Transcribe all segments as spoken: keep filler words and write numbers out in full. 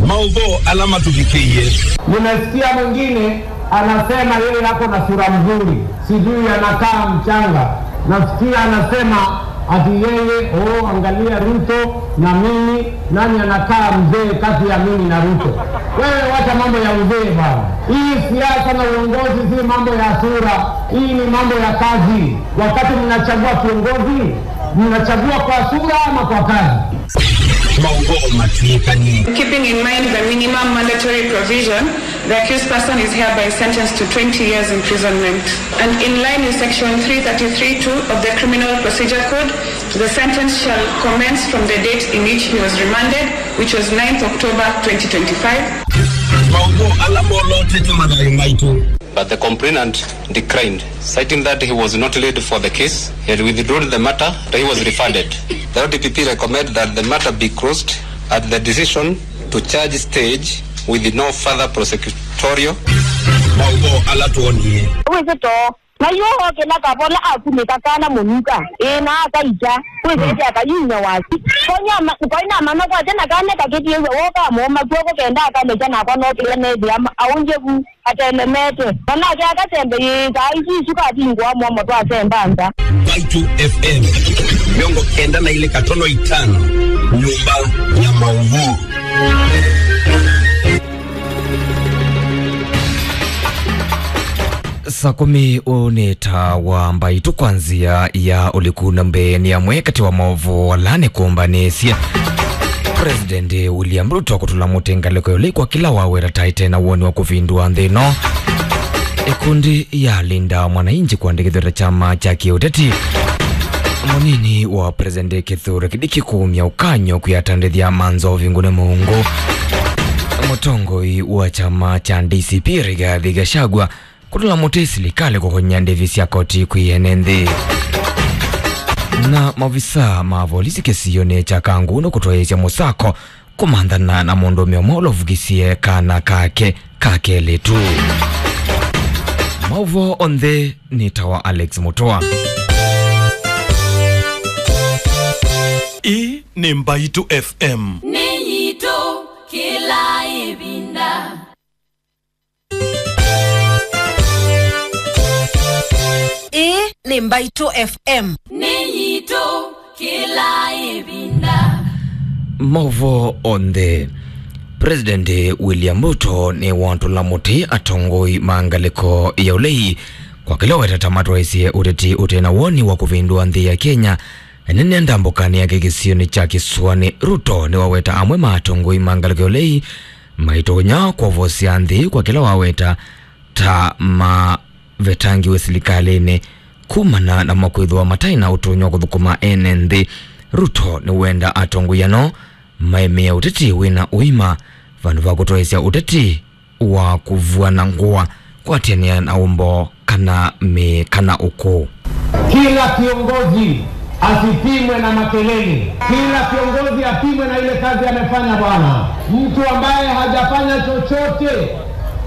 Maũvoo ala matũvikĩie. Nimesikia mwingine anasema yeye ako na sura mzuri, sijui anakaa mchanga. Nasikia anasema ati yeye, oh, angalia Ruto na mimi, nani anakaa mzee kati ya mimi na Ruto? Wewe wacha mambo ya uzee bwana. Hii siasa na uongozi si mambo ya sura, hii ni mambo ya kazi. Wakati mnachagua kiongozi, mnachagua kwa sura ama kwa kazi? Maũvoo matwĩkanie. Keeping in mind the minimum mandatory provision, the accused person is hereby sentenced to twenty years imprisonment. And in line with Section three thirty-three two of the Criminal Procedure Code, the sentence shall commence from the date in which he was remanded, which was ninth October twenty twenty-five. Maũvoo ala molotete mathayũ maitũ. But the complainant declined, citing that he was not laid for the case, he had withdrawn the matter, that he was refunded. The O D P P recommend that the matter be closed at the decision to charge stage with no further prosecutorial. Maũvoo ala twonie. Wĩsĩ too, na yu okĩla kavola akunĩka kana mũnuka, ĩ na akaita, wĩsĩte akayumya wasi. Koinama-, koinamana kwake na kana kakĩtie w'o kamũũma kw'oko kenda akalekya nakwa nokĩla nethĩa ma-, aũngye vu. Atelemete. Mwanake akasembe yĩĩkaa isu isu kavingũa mũomo twasemba nza. Mbaitũ F M, mĩongo kenda na ilĩ katono itano, nyũmba ya maũvoo. Saa kũmi, ũũ nĩ ta wa Mbaitũ kwa nzĩa ya ũliku, na mbee nĩ amwe katĩ wa maũvoo ala nĩkũmbanĩsye. President William Ruto kũtũla mũtĩ ngalĩko ya ũlei kwa kĩla waweta ta ĩte na woni wa kũvindũa nthĩ ĩno. Ĩkundi ya Linda Mwananchi kũandĩkĩthw'a ta kyama kya kĩũteti. Mũnini wa President Kithure Kindiki kũumya ũkany'o kwĩ atandĩthya ma nzovi ngũne mũungu. Mũtongoi wa kyama kya D C P Rigathi Gachagua kũtũla mũtĩ silikalĩ kũkony'a ndĩvi sya koti kwĩ ene nthĩ. Na maovisaa ma volisi kĩsionĩ kya Kangundo kũtwaĩĩsya mũsako kũmanthana na mũndũũme ũmwe ũla ũvukisye kana kake ka kelĩtu. Maũvoo onthe nĩ ta wa Alex Mũtũa. Ĩĩ nĩ Mbaitũ F M. Nĩ yitũ kĩla ĩvinda. Ĩĩ nĩ Mbaitũ F M. Nĩ yitũ kĩla ĩvinda. Maũvoo onthe. President William Ruto nĩwatũla mũtĩ atongoi ma ngalĩko ya ũlei kwa kĩla wetata matwaĩsye ũteti ũte na woni wa kũvĩndũa nthĩ ya Kenya. Ene nĩ ndambũkanĩ yake kĩsionĩ kya kĩsũanĩ, Ruto nĩwaweta amwe ma atongoi ma ngalĩko ya ũlei maitonya kwovosya nthĩ kwa kĩla waweta ta mavetangiwe silikalĩnĩ kumana na makwĩthĩwa mataĩ na ũtonyi wa kũthũkũma ene nthĩ. Ruto nĩwenda atongoi ano maemea ũteti wĩna ũima vandũ va kũtwaĩsya ũteti wa kũvuana ngũa, kwatĩanĩa na ũmboo kana mĩĩ kana ũkũũ. Kila kiongozi asipimwe na makelele. Kila kiongozi apimwe na ile kazi amefanya, bwana. Mtu ambaye hajafanya chochote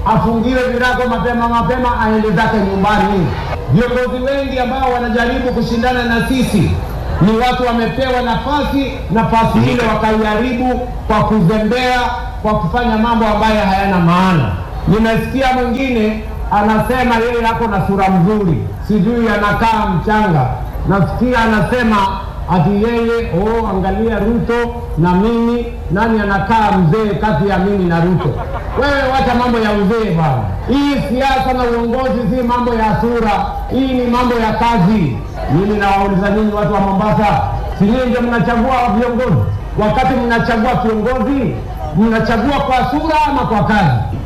afungiwe virago mapema mapema, aende zake nyumbani. Viongozi wengi ambao wanajaribu kushindana na sisi ni watu wamepewa nafasi, nafasi ile wakaiharibu kwa kuzembea, kwa kufanya mambo ambayo hayana maana. Nimesikia mwingine anasema yeye ako na sura mzuri, sijui anakaa mchanga. Nasikia anasema ati yeye, oh, angalia Ruto na mimi, nani anakaa mzee kati ya mimi na Ruto? Wewe wacha mambo ya uzee bwana. Hii siasa na uongozi si mambo ya sura, hii ni mambo ya kazi. Mimi nawauliza nyinyi watu wa Mombasa, si nyinyi ndio mnachagua viongozi? Wakati mnachagua kiongozi, mnachagua kwa sura ama kwa kazi?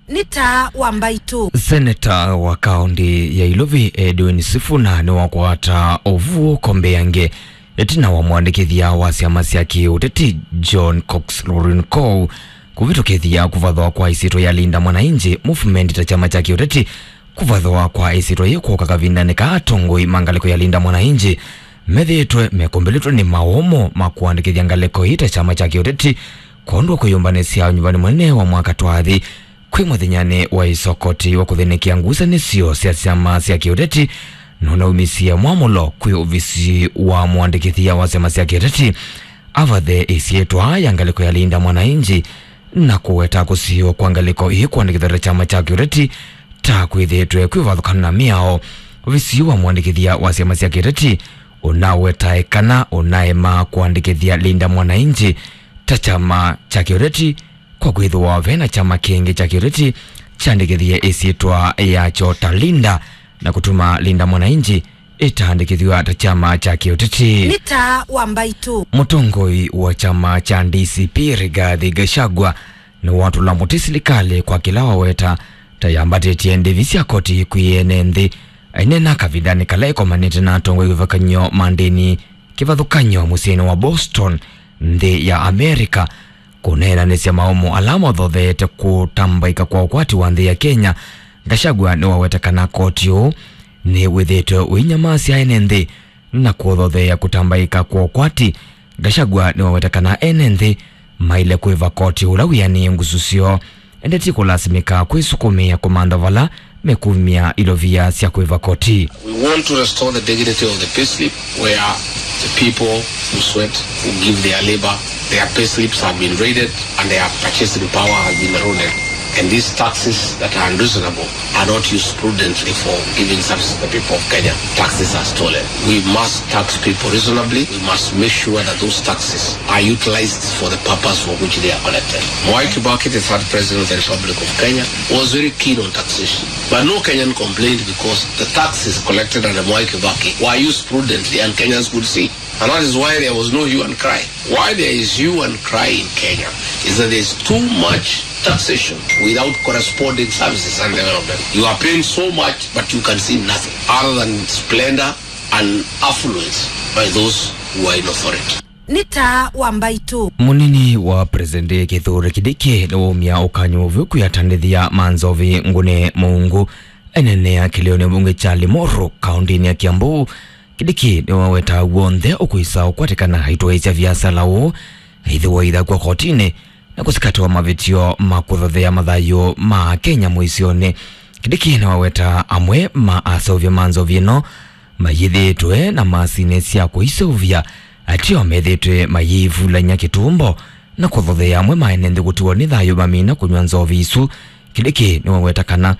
Nĩ taa wa Mbaitũ. Seneta wa kaũntĩ ya Ilovi Edwin Sifuna nĩwakwata ũvuũko mbeange ĩtina wa mwandĩkĩthya wa syama sya kĩũteti John Cox Lorinkou kũvĩtũkĩthya kũvathwa kwa ĩsyĩtwa ya Linda Mwananchi Movement ta kyama kya kĩũteti. Kũvathwa kwa ĩsyĩtwa yĩĩ kwooka kavindanĩ kaa atongoi ma ngalĩko ya Linda Mwananchi methĩĩtwe mekũmbĩlĩtwe nĩ maũmũ ma kũandĩkĩthya ngalĩko ĩĩ ta kyama kya kĩũteti kwondũ wa kwĩyũmbanĩsya ũnyuvanĩ mũnene wa mwaka twathi. Kwĩ mũthenyanĩ wa ĩsokoti wa kũthĩnĩkĩa ngusanĩsyo sya syama sya kĩũteti, nũnaumisye mwamũlo kwĩ ovisi wa mũandĩkĩthya wa syama sya kĩũteti avathe ĩsyĩtwa ya ngalĩko ya Linda Mwananchi na kũweta kũsiĩĩwa kwa ngalĩko ĩĩ kũandĩkĩthw'a ta kyama kya kĩũteti ta kwĩthĩĩtwe kwĩvathũkana na mĩao. Ovisi wa mũandĩkĩthya wa syama sya kĩũteti ũnawetae kana ũnaema kũandĩkĩthya Linda Mwananchi ta kyama kya kĩũteti, kwa kwĩthĩwa ve na kyama kĩngĩ kya kĩũteti kyandĩkĩthie ĩsyĩtwa yakyo ta Linda, na kũtuma Linda Mwananchi ĩtaandĩkĩthw'a ta kyama kya kĩũteti. Nĩ taa wa mbaitũ. Mũtongoi wa kyama kya D C P Rigathi Gachagua nĩwatũla mũtĩ silikalĩ kwa kĩla waweta ta yambatĩtye ndĩvi sya koti kwĩ ene nthĩ. Aineena kavindanĩ kala ĩkomanĩte na atongoi kĩvathũkany'o ma ndĩni kĩvathũkany'o mũsyĩnĩ wa Boston, nthĩ ya America, kũneenanĩsya maũmũ ala mathotheete kũtambaĩka kwa ũkwati wa nthĩ ya Kenya. Gachagua nĩwaweta kana koti ũũ nĩwĩthĩĩtwe ũinyamasya ene nthĩ na kũthotheea kũtambaĩka kwa ũkwati. Gachagua nĩwaweta kana ene nthĩ maĩle kwĩva koti ũla wĩanĩe ngusu syoo, ĩndĩ ti kũlasimĩka kwĩsukumĩa kũmantha vala mekumya ilovia sya kwĩva koti. We want to restore the dignity of the payslip where the people who sweat, who give their labor, their payslips have been raided and their purchasing power has been eroded. And these taxes that are unreasonable are not used prudently for giving service to the people of Kenya. Taxes are stolen. We must tax people reasonably. We must make sure that those taxes are utilized for the purpose for which they are collected. Mwai Kibaki, the third president of the Republic of Kenya, was very keen on taxation. But no Kenyan complained because the taxes collected under Mwai Kibaki were used prudently and Kenyans could see. And that is why there was no hue and cry. Why there is hue and cry in Kenya is that there is too much taxation without corresponding services and development. You are paying so much, but you can see nothing other than splendor and affluence by those who are in authority. Nĩ taa wa mbaitũ. Mũnini wa President Kithure Kindiki nĩwaumya ũkany'o ũvyũ kwĩ atandĩthya ma nzovi Ngũne Mũungu. Enenea kĩlĩonĩ mbunge kya Limuru, kaũntĩnĩ ya Kiambu, Kindiki nĩwaweta w'onthe ũkwĩsa ũkwatĩkana aitwaĩĩsya viasala ũũ aithĩwa ithakwa kotinĩ na kũsikatĩwa mavĩtyo ma kũthothea mathayũ ma Kenya mũisyonĩ. Kindiki nĩwaweta amwe ma aseũvya ma nzovi ĩno mayĩthĩĩtwe na masinĩ sya kũiseũvya, ateo methĩĩtwe mayĩivulany'a kĩtumbo na kũthothea amwe ma ene nthĩ kũtiwa nĩ thayũ mamina kũnyw'a nzovi isu. Kindiki nĩwaweta kana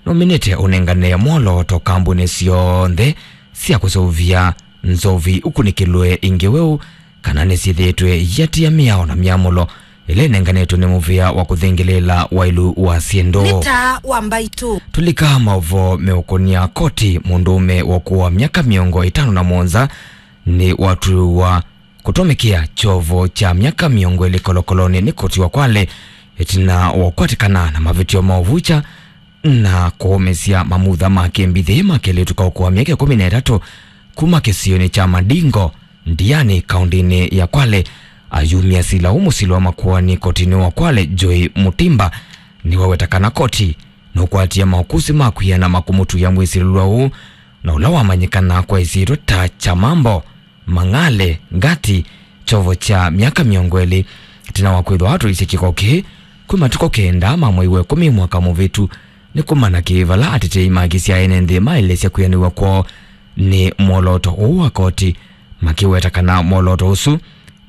nũminĩte ũnengane mwolooto kambunĩ syonthe sya kũseũvya nzovi ũkunĩkĩlwe ingĩ weũ kana nĩsyĩthĩĩtwe iatĩa mĩao na myamũlo ĩla ĩnenganĩtwe nĩ mũvĩa wa kũthingĩlĩĩla waĩlu wa syĩndũ. Nĩ taa wa mbaitũ. Tũlika maũvoo meũkũnĩa koti, mũndũũme wa ũkũũ wa myaka mĩongo ĩtano na mũonza nĩwatw'ĩĩwa kũtũmĩkĩa kyovo kya myaka mĩongo ĩlĩ kolokolonĩ nĩ koti wa Kwale ĩtina wa ũkwatĩkana na mavĩtyo ma ũvukya na kũũmĩsya mamutha ma kĩmbithĩ ma kelĩtu ka ũkũũ wa myaka ĩkũmi na ĩtatũ kuma kĩsionĩ kya Madingo, Ndiani, kaũntĩnĩ ya Kwale. Ayumya sila ũũ mũsili wa makoani kotinĩ wa Kwale, Joy Mutimba, nĩwaweta kana koti nũkwatie maũkũsĩ ma kwĩana ma kũmũtuya mwĩsilĩlwa ũũ, na ũla wamanyĩkana kwa ĩsyĩtwa ta Chamambo Mang'ale Ngati, kyovo kya myaka mĩongo ĩlĩ, ĩtina wa kwĩthwa atũisye kĩko kĩĩ kwĩ matukũ kenda ma mwei wa ĩkũmi mwaka mũvĩtu. Nĩ kumana kĩĩ vala atetei ma haki sya ene nthĩ maelesya kwĩanĩw'a kwoo nĩ mwolooto ũũ wa koti, makĩweta kana mwolooto ũsu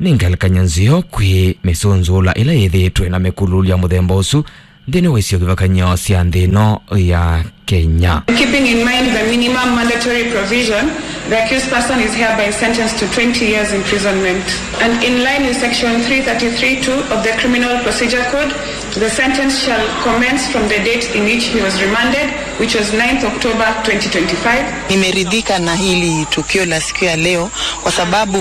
nĩ ngelekany'o nzeo kwĩ mĩsũnzũũla ĩla yĩthĩĩtwe na mĩkulũlũ ya mũthemba ũsu nthĩnĩ wa isio kĩvathũkany'o sya nthĩ ĩno ya Kenya. Keeping in mind the minimum mandatory provision, the accused person is hereby sentenced to twenty years imprisonment. And in line with section three thirty-three two of the Criminal Procedure Code, the sentence shall commence from the date in which he was remanded, which was ninth October twenty twenty-five. Nimeridhika na hili tukio la siku ya leo kwa sababu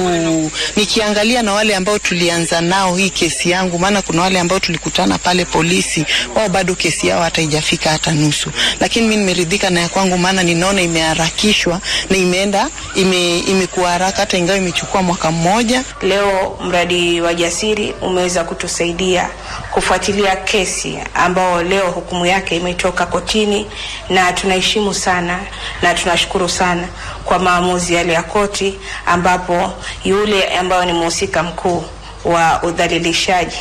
nikiangalia na wale ambao tulianza nao hii kesi yangu, maana kuna wale ambao tulikutana pale polisi, wao bado kesi yao hata haijafika hata nusu. Lakini mimi nimeridhika na ya kwangu, maana ninaona imeharakishwa na imeenda, ime-, imekuwa haraka, hata ingawa imechukua mwaka mmoja. Leo mradi wa Jasiri umeweza kutusaidia kufuatilia kesi ambao leo hukumu yake imetoka kotini, na tunaheshimu sana na tunashukuru sana kwa maamuzi yale ya koti, ambapo yule ambayo ni mhusika mkuu wa udhalilishaji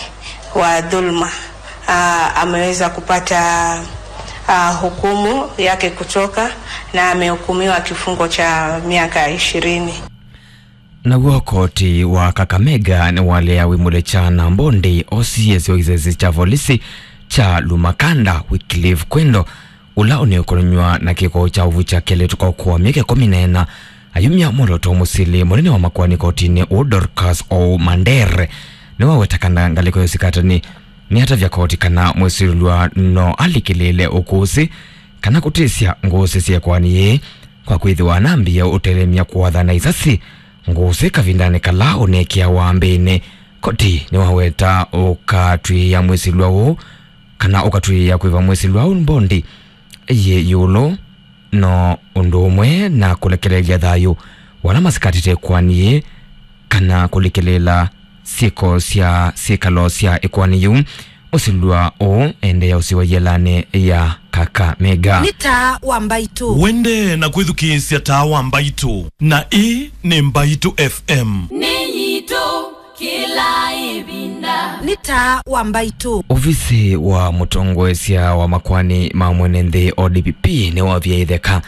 wa dhulma, ah, ameweza kupata, ah, hukumu yake kutoka na amehukumiwa kifungo cha miaka ishirini. Naw'o koti wa Kakamega nĩwalea wĩmũle kya na mbondi O C S wa kĩsese kya volisi kya Lumakanda, Wycliffe Kwendo, ũla ũnĩũkonanywa na kĩko kya ũvukya kelĩtu kwa ũkũa myaka ĩkũmi na ĩna, ayumya mwolooto mũsili. Mũnene wa makoani kotinĩ ũũ, Dorcas Oumandere, nĩwaweta kana ngalĩko ya ũsikatani nĩatavya koti kana mwĩsilĩlwa no alikĩlĩĩle ũkũsĩ kana kũtĩsya ngũsĩ sya ĩkoani yĩĩ, kwa kwĩthĩwa anambie ũtelemya kũatha na isasi ngũsĩ kavindanĩ kala ũneekĩawa mbĩnĩ. Koti nĩwaweta ũkatw'ĩĩa mwĩsilwa ũũ, kana ũkatw'ĩĩa kwĩva mwĩsilwa ũũ mbondi yĩ ĩũlũ no ũndũ ũmwe na kũlekelelya thayũ wa ala masikatĩte ĩkoani yĩĩ, kana kũlikĩlĩĩla syĩko sya syĩkalo sya ĩkoani yĩu. Mũsilwa ũũ endeea ũsiwa yĩelanĩ ya Kakamega. Nĩ taa wa Mbaitũ. Wende na kwĩthukĩĩsya taa wa Mbaitũ, na ĩĩ nĩ Mbaitũ F M. Nĩ yitũ kĩla ĩvinda. Nĩ taa wa Mbaitũ. Ovisi wa mũtongoesya wa makoani ma mwene nthĩ, O D P P, nĩwavia ĩtheka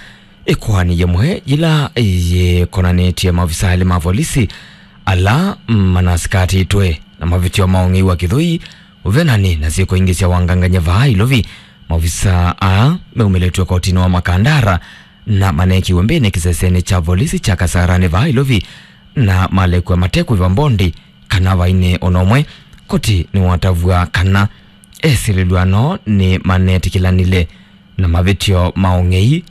ĩkoani yĩmwe yĩla yĩkonanĩtye maovisa elĩ ma volisi ala manasikatĩtwe na mavĩtyo ma ũng'ei wa kĩthũi, ũvenani na syĩko ingĩ sya wangangany'a vaa Ilovi. Maovisa aa meumĩlĩtw'e kotinĩ wa Makandara na maneekiwe mbĩnĩ kĩsesenĩ kya volisi kya Kasarani vaa Ilovi na malekw'a matekwĩva mbondi kana vainĩ o na ũmwe. Koti nĩwatavw'a kana esilĩlwa no nĩmanetĩkĩlanile na mavĩtyo ma ũng'ei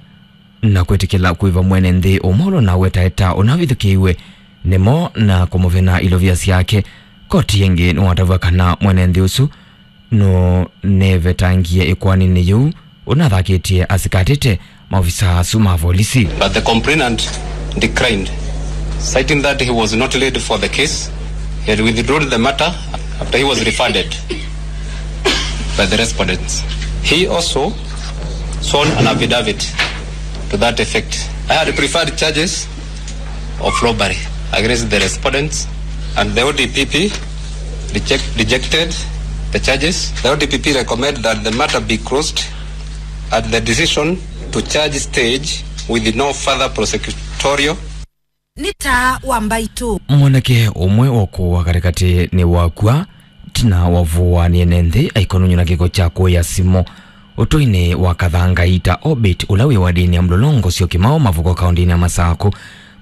na kwĩtĩkĩla kwĩva mwene nthĩ ũmwe ũla ũnawetaeta ũnavithũkĩiwe nĩmo na kũmũvena ilovia syake. Koti ĩngĩ nĩwatavw'a kana mwene nthĩ ũsu nũnevetangie ĩkoaninĩ yĩu ũnathakĩtye asikatĩte maovisa asu ma volisi. But the complainant declined, citing that he was not laid for the case. He had withdrawn the matter after he was referred by the respondents. He also sworn an affidavit to that effect. I had preferred charges of robbery against the respondents, and the O D P P reject, rejected the charges. The O D P P recommend that the matter be closed at the decision to charge stage with no further prosecutorial. Nĩ taa wa Mbaitũ. Mwanake ũmwe wa ũkũũ wa katĩkatĩ nĩwakw'a ĩtina wa ũvũwa nĩ ene nthĩ aikonony'a na kĩko kya kũĩa simũ ũtũinĩ wa Kathangaita Orbit, ũla wĩ wadinĩ ya Mlolongo Syokimau Mavuko, kaũndĩnĩ ya Masakũ.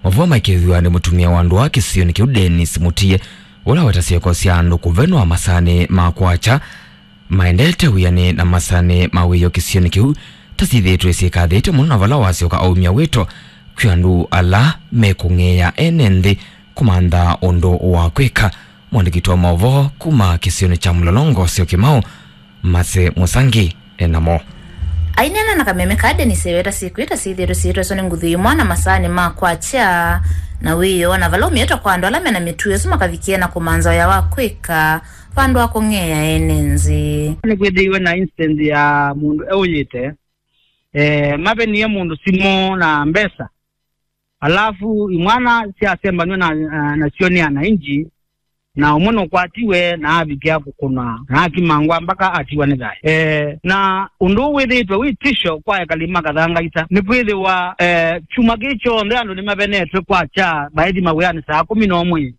Mavũa maikĩĩthw'a nĩ mũtumĩa wa ndũa kĩsionĩ kĩu, Dennis Mutie, ũla weta syĩko sya andũ kũvenwa masaanĩ ma kwakya maendete wĩanĩ na masaanĩ ma wĩoo kĩsionĩ kĩu ta syĩthĩĩtwe syĩkathĩte mũno, na vala wasyoka aumya wĩto kwĩ andũ ala mekũng'eea ene nthĩ kũmantha ũndũ wa kwĩka. Mwandĩki witũ wa maũvoo kuma kĩsionĩ kya Mlolongo Syokimau, Mase Mũsangi, e namo. Aineena na kameme ka Dennis, eweta syĩko ita syĩthĩĩtwe syĩtweswa nĩ nguthu ĩmwe na masaanĩ ma kwakya na wĩoo, na vala ũmĩĩtwa kwa andũ ala mena mĩtuo ĩsu makavikĩe na kũmantha wĩa wa kwĩka vandũ wa kũng'eea ene nthĩ. Nĩkwĩthĩiwe na instance ya mũndũ eũyĩte, eh, mavenie mũndũ simũ na mbesa, alafu imwana syasembanw'e na, na, nasyo nĩ anainji, na ũmwe nũkwatiwe na avikĩa kũkũnwa na akimangwa mpaka atiwa nĩ thayũ. Eh, na ũndũ ũũ wĩthĩĩtwe wĩ tisho kwa ekali ma Kathangaita, nĩkwĩthĩwa, eh, kyumwa kĩĩ kyonthe andũ nĩmavenetwe kwakya, mbaĩthi mawĩanĩ saa kũmi na ũmwe,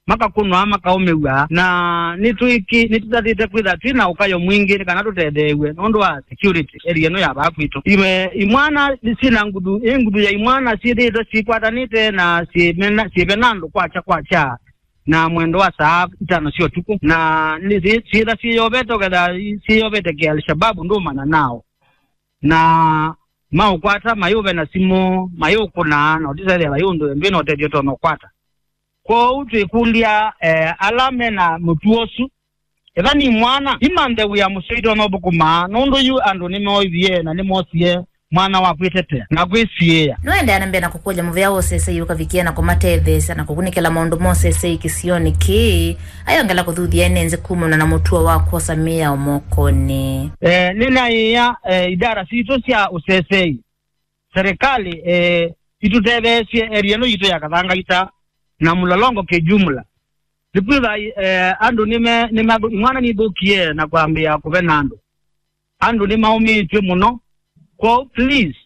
makakũnwa, makaũmĩw'a, na nĩtwĩkĩ-, nĩtũtathĩte kwĩtha twĩ na ũkayo mwingĩ nĩ kana tũtetheew'e nũndũ wa security area ĩno ya vaa kwitũ. Iwe, imwana syĩ na nguthu, ĩ nguthu ya imwana syĩthĩĩtwe syĩkwatanĩte na syĩmena-, syĩvena andũ kwakya kwakya na mwendo wa saa itano sya ũtukũ, na nĩ syĩ-, syĩtha syĩyovete, ũketha syĩyovete kĩ Al-Shabaab ndũmanya nao. Na maũkwata, mayũvena simũ, mayũkũna, na ũtĩsethĩa vai ũndũ ndwĩ na ũtethyo ũtonya ũkwata. Kwoou twĩkũlya, eh, ala me na mũtuo ũsu, ethani mwana, imanthe wĩa mũseo itonya ũthũkũma, nũndũ yu andũ nĩmoovie na nĩmosie mwana wa kwĩtetea na kwĩsiĩĩa. Nũendeea na mbee na kũkũlya mũvea wa ũsesei ũkavikĩe na kũmatetheesya na kũkunĩkĩla maũndũ ma ũsesei kĩsionĩ kĩĩ, ayongela kũthuthya ene nthĩ kumana na mũtuo wa kwosa mĩao mokonĩ. Eh, nĩnaĩĩa, eh, idara sitũ sya ũsesei, serikali, eh, itũtetheesye area ĩno yitũ ya Kathangaita na Mlolongo kijumla. Nĩkwĩtha, eh, andũ nĩme-, nĩmathũ-, imwana nithũkie na kwambĩĩa kũvena andũ. Andũ nĩmaũmĩĩtw'e mũno. Kwoou, please,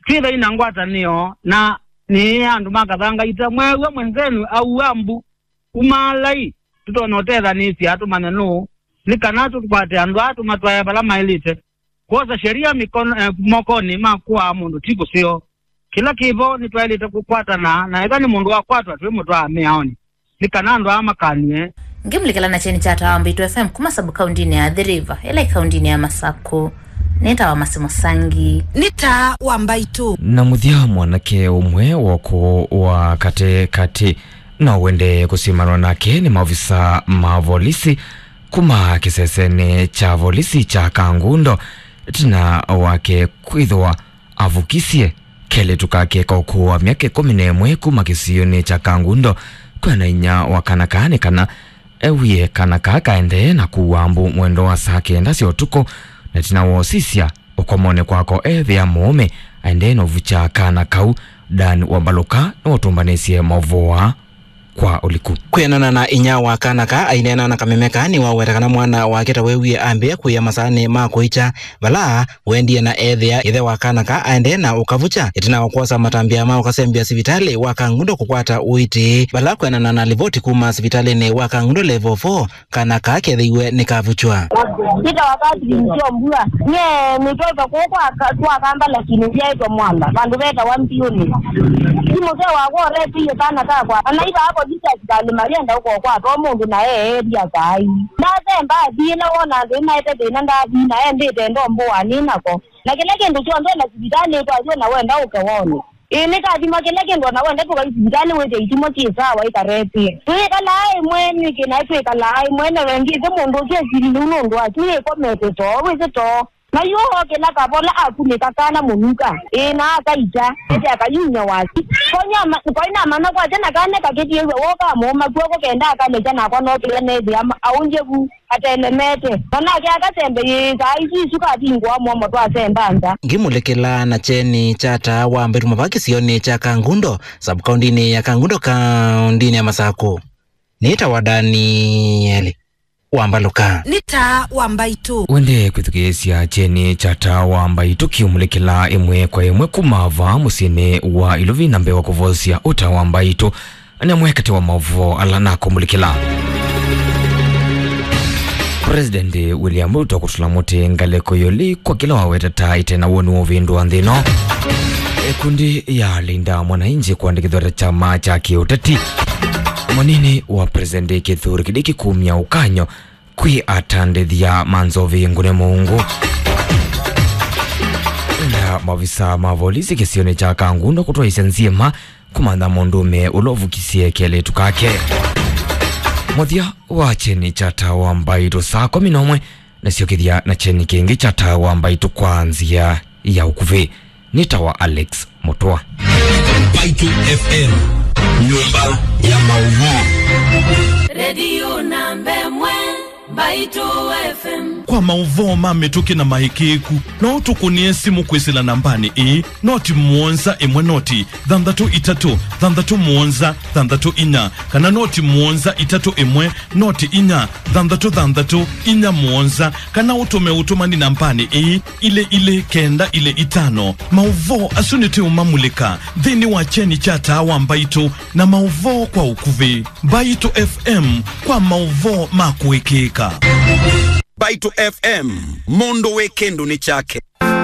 twĩthai na ngwatanĩo na nĩ andũ ma kathanga ita. Mweew'a mwenzenu aua mbu, umaalai, tũtonya ũtethanĩsya tũmanye nũũ, nĩ kana tũkwate andũ aa tũmatwae vala maĩlĩte. Kwosa sheria mikono, eh, mokonĩ ma kũaa mũndũ ti kũseo. Kĩla kĩvo nĩtwaĩlĩte kũkwatana, na ethwa nĩ mũndũ wakwatwa twĩmũtwaa mĩaonĩ, nĩ kana andũ aa makanw'e. Ngĩmũlikĩla na kyeni kya Taa wa Mbaitũ F M kuma sub-kaũndĩnĩ ya Athi River, ĩla ĩ kaũndĩnĩ ya Masakũ. Nĩ Taa wa Masi Mũsangi. Nĩ Taa wa Mbaitũ. Na mũthya, mwanake ũmwe wa ũkũũ wa katĩ katĩ na ũendee kũsimanwa nake nĩ maovisa ma volisi kuma kĩsesenĩ kya volisi kya Kangundo, ĩtina wake kwĩthĩwa avukisye kelĩtu kake ka ũkũũ wa myaka ĩkũmi na ĩmwe kuma kĩsionĩ kya Kangundo kwĩana inyia wa kana kaa nĩ kana ewie kana kaa kaendee na kũua mbu mwendo wa saa kenda sya ũtukũ, na ĩtina wa ũsisya ũkomonĩ kwako, ethĩa mũũme aendee na ũvukya kana kau. Dan Wambalũka nĩwaũtũmbanĩsye maũvoo aa kwa ũliku. Kwĩanana na inyia wa kana kaa aineena na kameme kaa, nĩwaweta kana mwana wake ta wewie ambĩĩa kũĩa masaanĩ ma kũikya, vala wendie na ethĩa ĩthe wa kana kaa aendee na ũkavukya ĩtina wa kwosa matambya ma ũkasembya sivitalĩ wa Kangundo kũkwata ũiiti, vala kwĩanana na livoti kuma sivitalĩnĩ wa Kangundo Level four, kana kaa kethĩiwe nĩkavukywa. Nĩtawa Catherine Kyombua. Nyie nĩtwaĩtwe kũũ kwa ka-, kwa Kamba, lakini nzyaĩtwe Mwala, vandũ vetawa Mbiũnĩ. Ti mũseo wakwa ũretĩie kana kakwa. Anaithaa polisi asikalĩ mayenda ũkokwatwa mũndũ na eelia kaai. Ndasemba athi ĩla wona andũ nĩmaete thĩna ndathi na embĩte ndomboa nĩ nako. Na kĩla kĩndũ kyonthe na sivitalĩ kwathi na wenda ũke wone. Ĩĩ, nĩ kathima kĩla kĩndũ, ona wenda tũkai sivitalĩ wĩthĩa itimũ syĩ sawa, ikaretĩe. Twĩkalaa ĩmwe nĩkĩ naĩ twĩkalaa ĩmwe, na wengĩte mũndũ ũsu esilile nũndũ waku nĩkomete too, wĩsĩ too. Na yu ookĩla kavola akunĩka kana mũnuka, ĩĩ, na akaita, ete akayumya waki. Koinama-, koinamanya kwakya na kana kakĩtiĩw'a woka mũũma kw'oko kenda akalekya nakwa nokĩla nethĩa ma-, aũngye vu. Atelemete. Na nake akasembe yĩĩsaa isu isu kavingũa mũomo twasemba nza. Ngĩmũlĩkĩla na kyeni kya Taa wa Mbaitũ mavaki kĩsionĩ kya Kangundo, sub-kaũndĩnĩ ya Kangundo, kaũndĩnĩ ya Masakũ. Nĩtawa Danieli Wambalũka. Nĩ Taa wa Mbaitũ. Wende kwĩthukĩĩsya kyeni kya Taa wa Mbaitũ kĩũmũlĩkĩla ĩmwe kwa ĩmwe kuma vaa mũsyĩnĩ wa Iluvi na mbee wa kũvosya ũta wa Mbaitũ. Nĩ amwe katĩ wa maũvoo ala nakũmũlĩkĩla. President William Ruto kũtũla mũtĩ ngalĩko ĩũlũ kwa kĩla waweta ta ĩte na woni wa ũvĩndũa nthĩ ĩno. Ĩkundi ya Linda Mwananchi kũandĩkĩthw'a ta kyama kya kĩũteti. Mũnini wa President Kithure Kindiki kumya ũkany'o kwĩ atandĩthya ma nzovi ngũne mũungu. Na maovisa ma volisi kĩsionĩ kya Kangundo kũtwaĩsya nzima kũmantha mũndũũme ũla ũvukisye kelĩtu kake. Mũthya wa kyeni kya Taa wa Mbaitũ saa kũmi na ũmwe, na syokethya na kyeni kĩngĩ kya Taa wa Mbaitũ kwa nzĩa ya ũkuvĩ. Nĩtawa Alex Mũtũa. Mbaitũ F M, nyũmba ya maũvoo. Redio namba ĩmwe, Mbaitũ F M. Kwa maũvoo ma mĩtũkĩ na maĩkĩĩku, no ũtũkũnĩe simũ kwĩsĩla nambanĩ ĩĩ, noti mũonza ĩmwe noti thanthatũ itatũ thanthatũ mũonza thanthatũ inya, kana noti mũonza itatũ ĩmwe noti inya thanthatũ thanthatũ inya mũonza, kana ũtũme ũtũmani nambanĩ ĩĩ, ilĩ ilĩ kenda ilĩ itano. Maũvoo asu nĩtũũmamulĩka nthĩnĩ wa kyeni kya Taa wa Mbaitũ na maũvoo kwa ũkuvĩ. Mbaitũ F M kwa maũvoo ma kũĩkĩĩka. Mbaitũ F M, mũndũ wĩ kĩndũ nĩ kyake.